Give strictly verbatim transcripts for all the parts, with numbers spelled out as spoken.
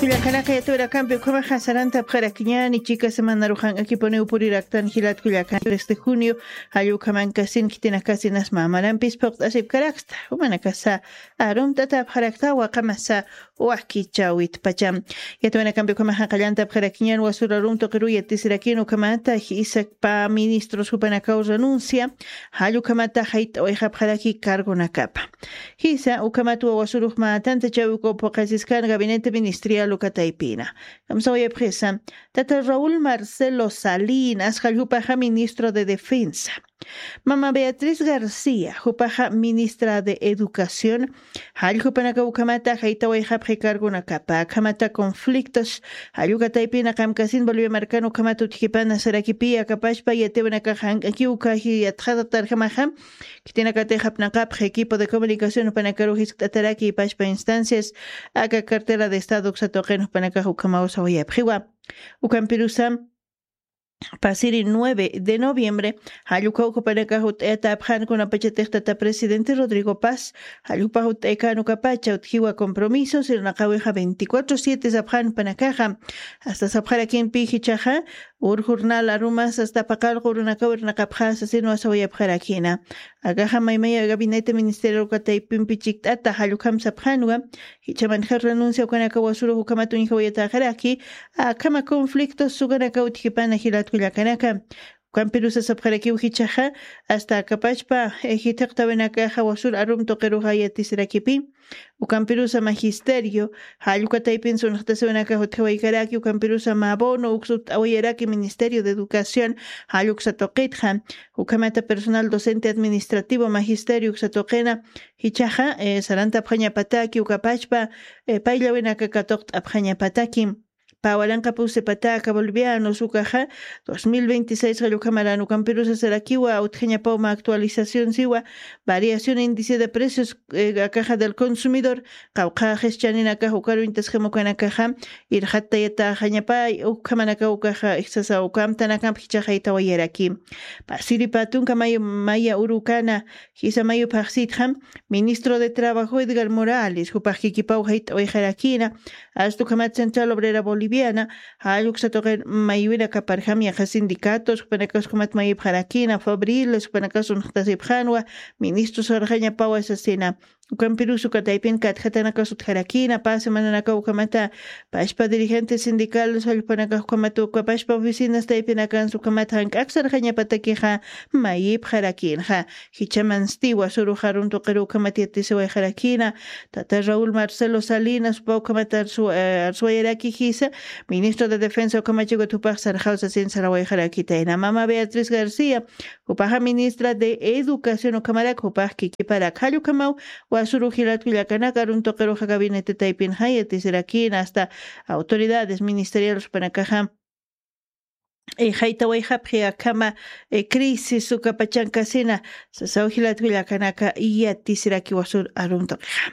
Kullakanaka yatawirakampi ukhamaxa sarantapxarakiñani chika semanaruxan akipuniw puriraktan jilat kullakan tres de junio. Jallukhamankasin khitinakasin asma marampis phuqt'asipkaraksta umanakasa arumtatapxarakta waqamasa wakichawit pacham. Yatawinakampi ukhamaxa qallantapxarakiñan wasura arum tuqiruya tisirakin ukhamata jisakpa ministros jupanakaw renuncia. Jallukhamata jayt'awayxapxaraki cargonakapa jisa ukhamat wawasurux mä tantachäwik uka phuqasiskan gabinete ministrial uka taypina. Kamsawayapxisa tata raúl marcelo salinas jalljupaxa ministro de defensa. Mama beatriz garcía jupaxa ministra de educación. Jalljupanaka ukhamata jaytawayxapxi cargonakapa akhamata conflictos. Jallukataypina qamkasin bolivia markan ukhamata utjipana sarakipi akapashpa yatiwanakaxa jank'akiw ukaji yatxatatarjamaxa. Khitinakatix apnaqapxi equipo de comunicación jupanakaruw jiskt'ataraki ipashpa instancias aka cartera de estado uksatuqin jupanakax ukhamaw sawayapxiwa. Ukampirusa pasiri nueve de noviembre jallukaw jupanakax ut'ayatapxan kunapachatix tata presidente rodrigo paz jallupax ut'aykan ukapacha utjiwa compromiso sirnaqawixa veinticuatro siete sapxan jupanakaxa. Asta sapxarakimpi jichaxa ur jornal arumas asta paqallqu urunakaw irnaqapxasa sinwa sawayapxarakina. Akaxa maymaya gabinete ministerial uka taypimpi chikt'ata jallukhamsapxanwa. Jichamanxa renuncia ukanaka wasurux ukhamat uñjawayatäxaraki akhama conflictos ukanaka utjipana jilatkullakanaka. Ukampirusa sapxarakiw jichaxa asta akapachpa jithiqtawinakaxa wasur arum tuqiruxa yatisirakipi. Ukampirusa magisterio jallukataypin sunxtasiwinakax utjawaykaraki ukampirusa mabono uksut'awayaraki ministerio de educación. Jalluksa tuqitxa ukhamata personal docente administrativo magisterio uksa tuqina jichaxa sarantapxañapataki ukapachpa payllawinaka katuqt'apxañapataki. Pä waranqa pusipataka bolivianos ukaxa dos mil veintiséis qallukamaran ukampirusa sarakiwa utjañapawma actualización siwa variación índice de precios akaxa del consumidor qawqha qischaninakax ukaruñtasjam ukanakaxa irxattayataxañapay ukhamanaka ukaxa ijsasa ukamtanakamp jichaxaytawayaraki. Pasiripa tunka mayu maya urukana jisa mayuphaxsitxam ministro de trabajo edgar morales jupax kikipaw jayt'awayxarakina. Asta ukhamat central obrera boliviana jalluksa tuqir maywinakaparjam yaqa sindicatos jupanakas ukhamat mayupxarakina fabriles jupanakas unxtasipxanwa ministros sarxañapawa sasina. Ukampirus uka taypin katjatanakas utjarakina pä semananakaw ukhamata pashpa dirigentes sindicales jallpanakax ukhamata ukapashpa oficinas taypinakansa ukhamata jank'ak sarxañapatakixa mayipxarakinxa. Jichamansti wasurux arun tuqiru ukhamat yatisiwayxarakina tata raúl marcelo salinas upa ukhamat arsuwayaraki jisa ministro de defensa ukhamachikut jupax sarxaw sasin sarawayxarakitayna mama beatriz garcía jupaxa ministra de educación ukhamarak jupax kikiparak jallukhamaw wasuru jilatkullakanaka arun tuqiruxa gabinete taypinxa yatisirakina asta autoridades ministeriales jupanakaxa jaytawayxapxi akhama crisis ukapachankasina sasaw jilatkullakanaka yatisiraki wasur arun tuqixa.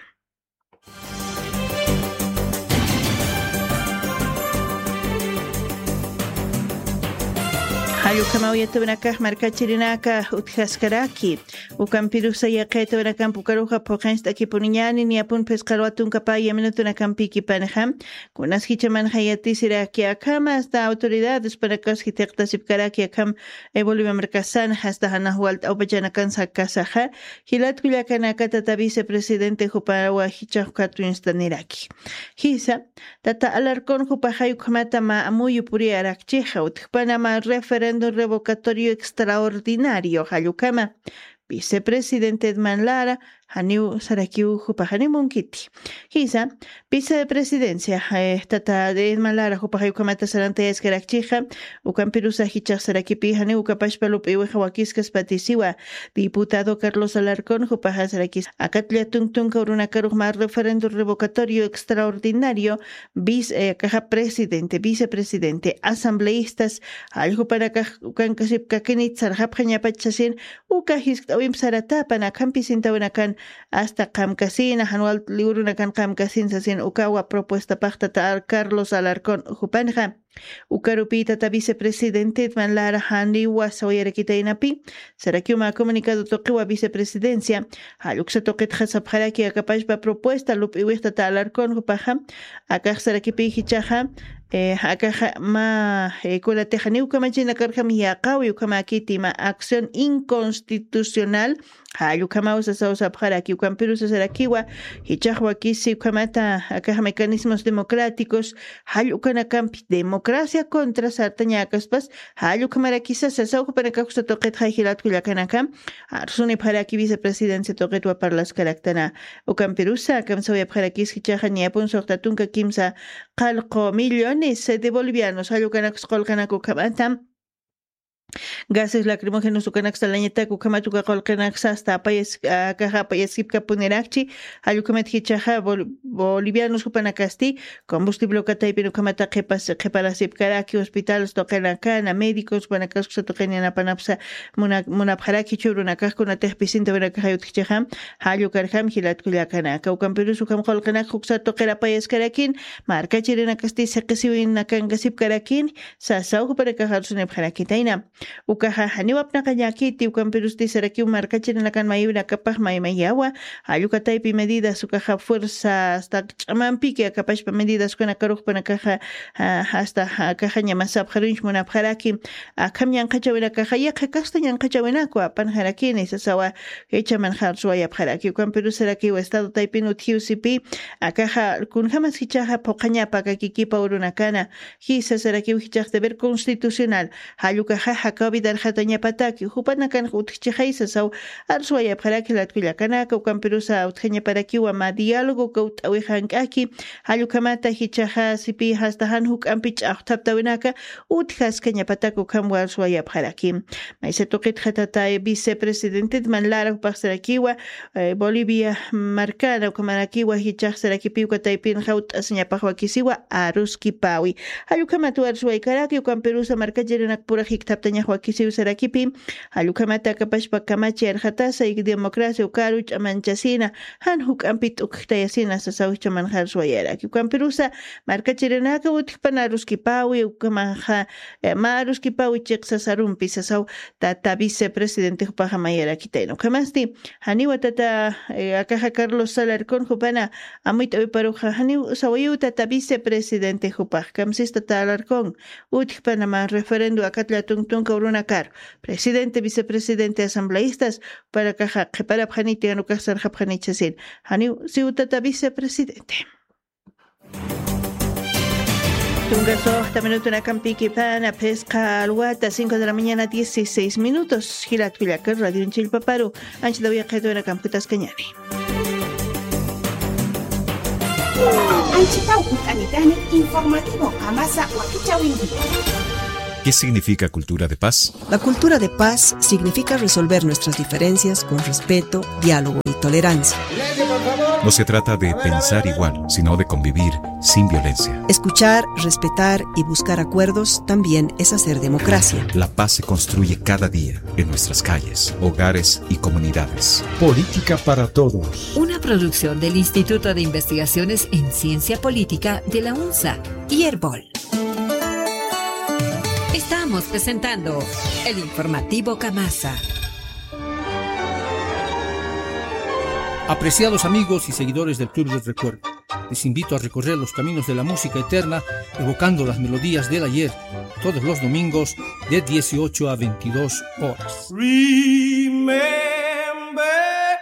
Jallukamaw yatawinakax markachirinaka utjaskaraki ukampirusa yaqaytawinakamp ukaruxa phuqinst'akipuniñani niyapun phisqarwa tunka paya minutunakampikipanixa. Kunas jichamanxa yatisiraki akhama asta autoridades panakas jithiqtasipkaraki akham bolivia markasan asta janax walt'awpachanakan sakasaxa jilatkullakanaka tata vicepresidente jupawa jichax katuñstaniraki. Jisa tata alarcón jupaxay ukhamata mä amuyu puriyarakchixa utjpanama referéndum revocatorio extraordinario jallukama vicepresidente edman lara janiw sarakiw jupaxanimunkiti. Jisa vicepresidencia tata edman lara jupaxay ukhamata sarantayaskarakchixa ukampirusa jichax sarakipi janiw ukapashpa lup'iwixa wakiskaspatisiwa diputado carlos alarcón jupaxa sarakis akatlla tuntunka urunakarux mä referéndum revocatorio extraordinario vice akaxa presidente vicepresidente asambleistas jalljupanakax ukankasipkakinit sarxapxañapach sasin uka jiskt'awimp saratapan akhampi sintawinakan hasta qamkasina, jan wal liwrunakan qamkasin sasin ukawa propuestapaqta ta Carlos Alarcón jupanxa. Ukarupï tata vicepresidentet man lara janiwa sawayarakitaynapi, sarakiw mä comunicado tuqiwa vicepresidencia, jalluksa tuqitxa sapxaraki akapachpa propuesta lup'iwix tata Alarcón jupaxa, akax sarakipï jichhaxa, eh, akaxa mä, eh, kunatix janiw kamachinakarjam yaqawi ukhamäkiti mä acción inconstitucional, jall ukhamaw sasaw sapxaraki, ukampirus sasarakiwa, jichhax wakisi ukhamata akax mecanismos democráticos, jall ukanakampi democracia contra sartañäkaspas, jall ukhamarakisa sasaw jupanakax uksa tuqitxa jilat kullakanaka, arsunipxaraki vicepresidencia tuqitwa parlaskaraktana, ukampirusa kamsawayapxarakis jichhaxa niyapun suxta tunka kimsa qallqu millones de bolivianos, jall ukanakus qullqinaku ukhamata, gases lacrimógenos ukanaksa lañatak ukhamat uka qullqinaksa hasta apayas-, ah, akaxa apayaskipkapunirakchi, jall ukhamat jichhaxa bol-, bolivianos jupanakasti, combustible uka taypin ukhamata qhipas-, qhiparasipkaraki, hospitales tuqinakana, médicos jupanakax uksa tuqin yanapanapsa muna-, munapxaraki, jichhürunakax kunatix pisintawinakax utjchixa, jall ukarjam jilat kullakanaka, ukampirus ukham qullqinakxa uksa tuqir apayaskarakin, markachirinakasti siqisiwinakankasipkarakin, sasaw jupanakax arsunipxarakitayna. Ukaxa janiw apnaqañäkiti, ukampirusti sarakiw markachirinakan mayiwinakapax maymayawa, jall uka taypi medidas ukaxa fuerza hasta ch'amampiki akapachpa medidas ukanakarux jupanakaxa, ah, hasta, ah, akaxa ñamasapxaruñch munapxaraki, akham ñanqhachawinakaxa yaqha kasta ñanqhachawinaku apanxarakini sasawa, jichha manxa arsuwayapxaraki, ukampirus sarakiw estado taypin utjiw sipi, akaxa kunjamas jichhaxa phuqhañapa aka kikipa urunakana, jisa sarakiw jichhax deber constitucional, jall ukaxa jakaw vidarxatañapataki, jupanakan utjchixay sasaw, arsuwayapxaraki jilat kullakanaka, ukampirusa utjañaparakiwa mä diálogo kawt'awix jank'aki, jall ukhamata jichhaxa sipi hasta jan juk'ampi ch'axthaptawinaka, utjaskañapatak ukhamwa arsuwayapxaraki. Maysa tuqitxa tata vicepresidentet man lara jupax sarakiwa, eh, Bolivia markana ukhamarakiwa jichhax sarakipiw uka taypinxa ut'asiñapax wakisiwa aruskipawi. Jall ukhamat arsuwaykaraki, ukampirusa markachirinakpura jikthaptañax wakisiw sarakipi, jall ukhamat akapachpa kamachi arxatasa y democracia ukaru ch'amanchasina, jan juk'ampi t'ukjtayasina sasaw jichha manxa arsuwayaraki. Ukampirusa markachirinaka utjpan aruskipawi, ukhamanxa, eh, mä aruskipawi chiqsasarumpi sasaw tata vicepresidente jupaxa mayarakitayna. Ukhamasti, janiwa tata, eh, akaxa Carlos Alarcón jupana amuyt'awiparuxa, janiw sawayiw tata vicepresidente jupax, kamsis tata Alarcón, utjpana mä referendo akat llätunk tunka urunakar, presidente, vicepresidente, asambleístas, jupanakaxa qhiparapxaniti, jan ukax sarxapxaniti sasin, janiw siw tata vicepresidente. Tunka suxta minutunakampï kipana, phisqa alwata, cinco de la mañana, dieciséis minutos. Jilat kullaka, radioñ chillpaparu anchhitaw yaqhitunakamp jutaskañäni. Anchhitaw jutanitani informativo Qamasa wakichäwinti. ¿Qué significa cultura de paz? La cultura de paz significa resolver nuestras diferencias con respeto, diálogo y tolerancia. No se trata de pensar igual, sino de convivir sin violencia. Escuchar, respetar y buscar acuerdos también es hacer democracia. La paz se construye cada día, en nuestras calles, hogares y comunidades. Política para todos. Una producción del Instituto de Investigaciones en Ciencia Política de la UNSA y Erbol. Estamos presentando el informativo Qamasa. Apreciados amigos y seguidores del Club del Recuerdo, les invito a recorrer los caminos de la música eterna, evocando las melodías del ayer, todos los domingos de dieciocho a veintidós horas. Remember.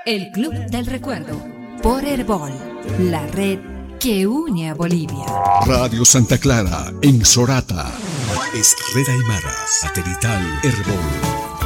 El Club del Recuerdo, por Erbol, la red que une a Bolivia. Radio Santa Clara, en Sorata. Es Red Aymara, satelital Erbol.